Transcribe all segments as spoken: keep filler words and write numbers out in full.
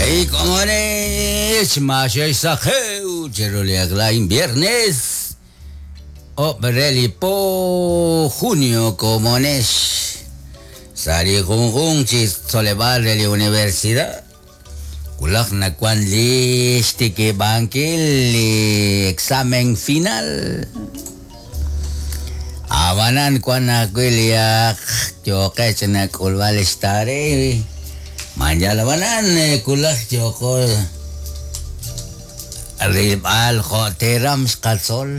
Ey, komones, masesajeu, cheruliaglain viernes, obrelipo junio, komones, sari junjun chisolebal de la universidad, kulak na kwan listi bankil examen final. Abanan kwan akuiliak, yoqech na kulbal estare. Manjalabanan kulak yoko ribal joteram xqatzol.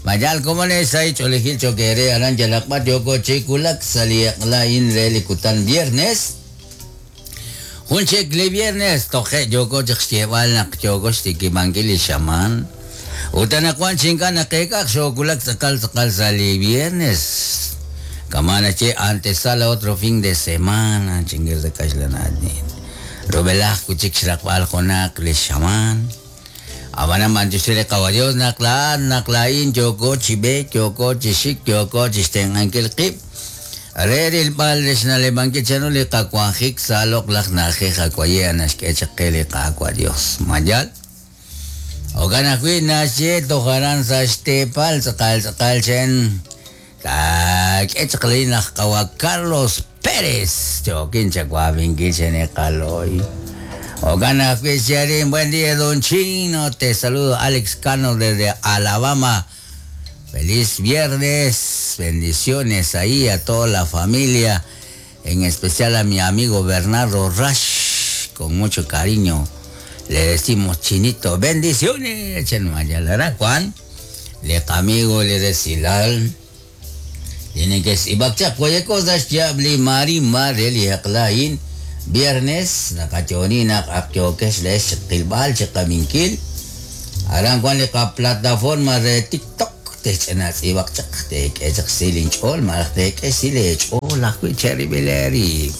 Mayal komones ay cholijil chokere aran yalakbat yoko chikulak saliaklain relikutan viernes. Junchek le viernes toje yoko chixtebal nak yoko xtikimankil shaman. Utanakuan chinkana kekak xokulak tzakal tzakal sali viernes. Kamana che antesala otro fin de semana, chingues de Caixlanadin. Robelaj kuchik xrakwal jonak le shaman. Abana manchusere caballos naklaan naklain yoko chibe yoko chishik yoko chisten ankel qib. Reril pal resnale banque chano le kakuanjik salok laj naje jakuaye anashkechakele kakua Dios. Mayal. Ogana kui nashe tojaran sashte pal tzakal tzakal chen. Carlos Pérez. Ogana buen día, don Chino. Te saludo, Alex Cano desde Alabama. Feliz viernes. Bendiciones ahí a toda la familia. En especial a mi amigo Bernardo Rash. Con mucho cariño le decimos Chinito. Bendiciones. Juan. Le amigo le decilal. Tienen que ibakchak cualquier cosa ya mari mari liaklain viernes nakachoni nak akyokesh les qilbal chakaminkil aran kwan li plataforma de TikTok te chenas ibakchak te kechak silin chol mar te kesile chol akwi cherry beleri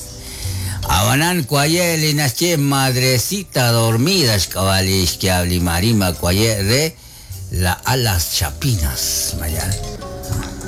abanan kwaye li nasche madrecita dormida xkawali xkiabli marima kwaye de la alas chapinas mayal.